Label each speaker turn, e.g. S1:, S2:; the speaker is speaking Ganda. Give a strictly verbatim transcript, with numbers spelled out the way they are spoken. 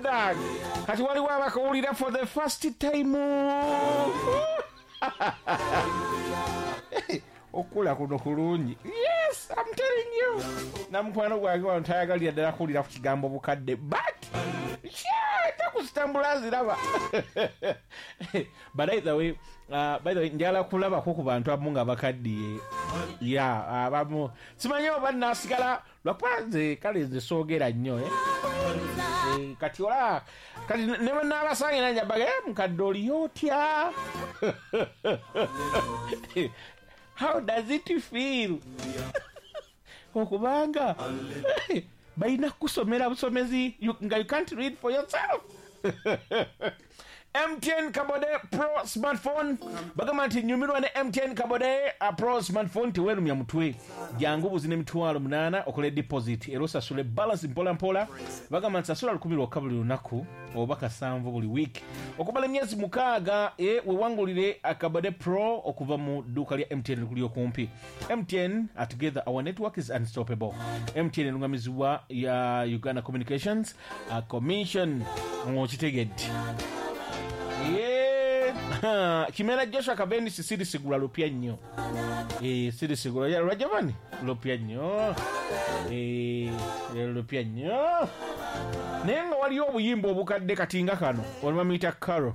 S1: that. Kati waliwo abakawulira for the first time. Okula kuno kulungi. Yes, I'm telling you. Namukwano gwange wano tayagalira ddala kuwulira ku kigambo bukadde, but takuzitambula ziraba. But either way, uh, by the way, njagala kulabako ku bantu abamu nga bakaddiye. Yeah, abamu simanyi oba naasigala lwakuba nze kale nze soogera nnyo, eh? Eh, kati ola kati ne bwe naabasange nanja baga, eh, mukadde oliyo otya? How does it feel? Okubanga balina kusomera busomezi, you, nga you can't read for yourself. M T N Kabode Pro Smartphone. Bagamba nti nyumirwa ne M T N Kabode a Pro Smartphone tewerumya mutwe. Jangu buzine emitwalo munaana okole deposit era osasule balance mpola mpola. Bagamba nti sasula lukumi lwokka buli lunaku oba kasanvu buli week. Okumala emyezi mukaaga, e, wewangulire Akabode Pro okuva mu dduuka lya M T N likuli okumpi. M T N, uh, together our network is unstoppable. M T N erungamizibwa ya Uganda Communications, uh, Commission. Ng'okitegedde. Yeah. Kimera Joshua Kabendi siri sigula lupya nnyo. Eh, siri sigula ya Rajavani lupya nnyo. Eh, lupya nnyo. Naye nga waliyo obuyimba obukadde kati nga kano, olumamuyita Carol.